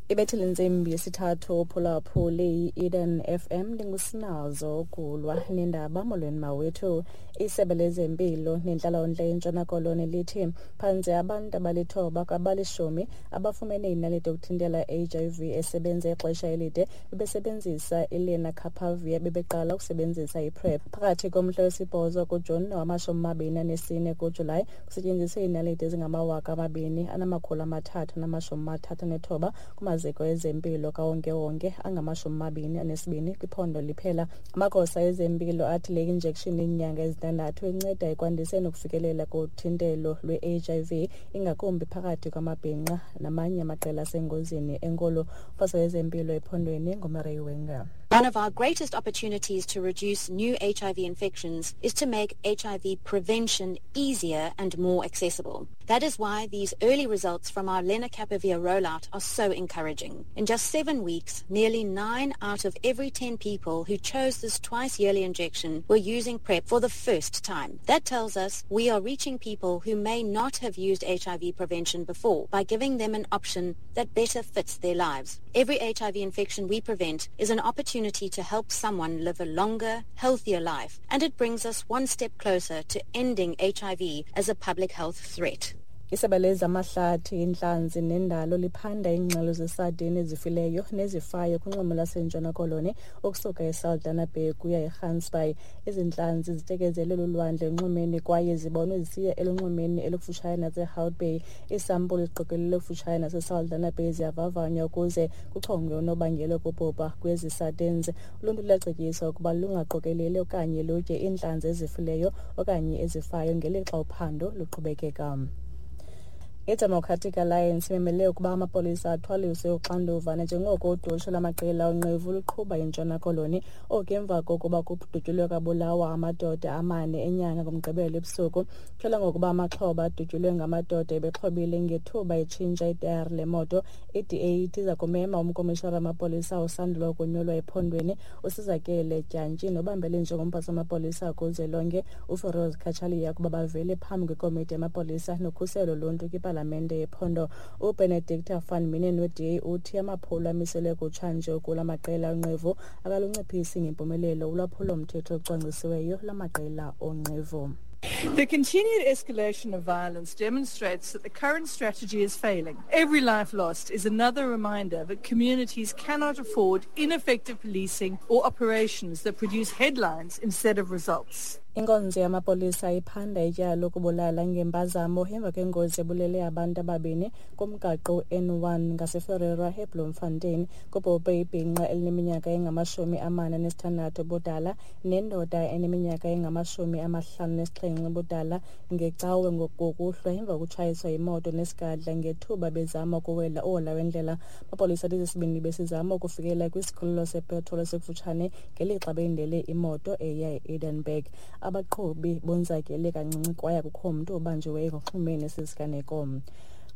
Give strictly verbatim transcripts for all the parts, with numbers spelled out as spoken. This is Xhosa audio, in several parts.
Ibethile intsimbi yesithathu uphulaphuli i-Eden F M ndingusinazo Gulwa nendaba. Molweni mawethu. Isebe lezempilo nentlalontle eNtshona Koloni lithi phantse abantu abalithoba kwabalishumi abafumene inaliti yokuthintela H I V esebenza ixesha elide bebesebenzisa ilenacapavir bebeqala ukusebenzisa iPrEP. Phakathi komhla wesibhozo kuJuni nowamashumi amabini anesine kuJulayi kusetyenziswe iinaliti ezingamawaka amabini anamakhulu amathathu namashumi amathathu anethoba kumaziko ezempilo kawonkewonke angamashumi amabini anesibini kwiphondo liphela. Amagosa ezempilo athi le injection inyanga ezintandathu inceda ekwandiseni ukufikelela kuthintelo lwe-H I V ingakumbi phakathi kwamabhinqa namanye amaqela asengozini enkulu. Umphathiswa wezempilo ephondweni nguMurray Wenger. One of our greatest opportunities to reduce new H I V infections is to make H I V prevention easier and more accessible. That is why these early results from our lenacapavir rollout are so encouraging. In just seven weeks, nearly nine out of every ten people who chose this twice-yearly injection were using PrEP for the first time. That tells us we are reaching people who may not have used H I V prevention before by giving them an option that better fits their lives. Every H I V infection we prevent is an opportunity to help someone live a longer, healthier life, and it brings us one step closer to ending H I V as a public health threat. Isebe lezamahlathi, intlanzi nendalo liphanda iingxelo zesadini ezifileyo nezifayo kunxweme lwaseNtshona Koloni ukusuka eSaldanha Bay kuya eGansbaai. Ezi ntlanzi zitekezelwe lulwandle enxwemeni kwaye zibonwe zisiya elunxwemeni elukufutshane naseHout Bay. Iisampulu ziqokelelwe kufutshane naseSaldanha Bay ziyavavanywa ukuze kuchongwe unobangela wokubhubha kwezi sardines. Uluntu luyacetyiswa ukuba lungaqokeleli okanye lutye iintlanzi ezifileyo okanye ezifayo ngelixa uphando luqhubekeka. I-Democratic Alliance imemele ukuba amapolisa athwaliswe uxanduva nanjengoko udushe lwamaqela onqevu luqhuba iNtshona Koloni. Oku emva kokuba kudutyulwe kwabulawa amadoda amane enyanga ngoMgqibelo ebusuku. Kutyholwa ngokuba amaxhoba adutyulwe ngamadoda ebexhobile ngethuba etshintsha itayari lemoto. I-D A ithi iza kumema umkomishara wamapolisa osandula ukunyulwa ephondweni uSizakele Dyantyi nobambele njengomphatsi wamapolisa kuzwelonke uFeroz Cachalia ukuba bavele phambi kwekomiti yamapolisa nokhuselo loluntu kwipalamente yephondo. uBenedicta van Minen we-D A uthi amaphulo amiselwe kutshanje kula maqela onqevu akalunciphisi ngempumelelo ulwaphulo-mthetho olucwangcisiweyo lwamaqela onqevu. The continued escalation of violence demonstrates that the current strategy is failing. Every life lost is another reminder that communities cannot afford ineffective policing or operations that produce headlines instead of results. Inkonzo yamapolisa iphanda ityala lokubulala ngempazamo emva kwengozi ebulele abantu ababini kumgaqo N one ngaseFerreira eBloemfontein. Kubhubhe ibhinqa elineminyaka engamashumi amane anesithandathu ubudala nendoda eneminyaka engamashumi amahlanu nesixhenxe ubudala ngeCawe ngokuhlwa emva kokutshayiswa yimoto nesigadla ngethuba bezama ukuwela uhola wendlela. Amapolisa athi sisibini besizama ukufikelela kwisikhululo sepetroli esikufutshane ngelixa belindele imoto eya e-Edenburg. Abaqhubi bonzakele kancinci kwaye akukho mntu obanjiweyo ngokuxhumene nesi siganeko.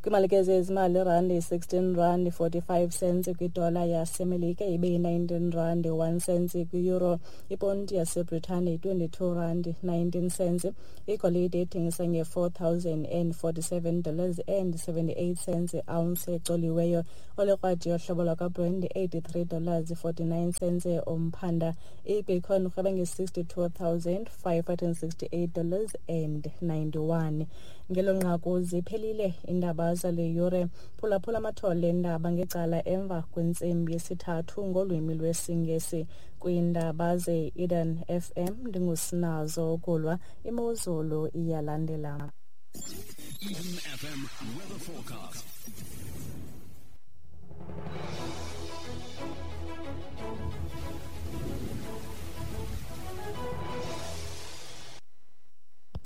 Kwimalike zezimali, irandi sixteen rand forty-five cents kwidola yaseMelika ibe yi-nineteen rand one cent kwi-euro. Iponti yaseBritane twenty-two rand nineteen cents. Igolide ithengisa nge-four thousand and forty-seven dollars and seventy-eight cents ounce ecoliweyo. Olekrwadi yohlobo lwakwaBrand eighty-three dollars forty-nine cents umphanda. I-Bitcoin irhweba nge-sixty-two thousand five hundred and sixty-eight dollars and ninety-one. Ngelo nqaku ziphelile iindaba zale yure. Phulaphula amathole endaba ngecala emva kwentsimbi yesithathu ngolwimi lwesiNgesi. Kwiindaba ze-Eden F M ndingusinazo Gulwa. Imozulu iyalandela. Eden F M weather forecast.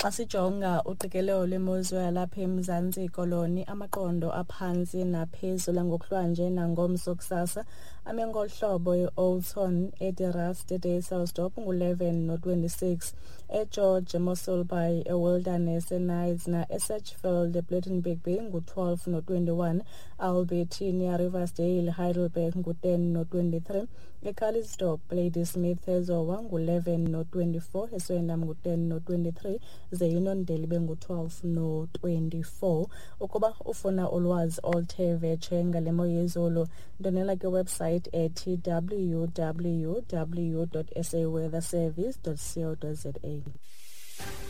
Xa sijonga uqikelelo lwemozulu yalapha eMzantsi Koloni, amaqondo aphantsi naphezulu ngokuhlwanje nangomso kusasa ame ngolu hlobo: e-Oudtshoorn, eDe-Rust, eDysselsdorp ngu-eleven no-twenty-six, eGeorge, eMossel Bay, eWilderness, eKnysna, eSedgefield, ePlettenberg Bay ngu-twelve no-twenty-one, Albertinia, Riversdale, Heidelberg ngu-ten no-twenty-three, eCalitzdorp, Ladysmith, eZowa ngu-eleven no-twenty-four, eSwellendam ngu-ten no-twenty-three, ze iUniondale ibe ngu-twelve no-twenty-four. Ukuba ufuna ulwazi oluthe vetshe ngale mo yezulu, ndonela kwiwebsite ethi w w w dot s a weather service dot co dot za.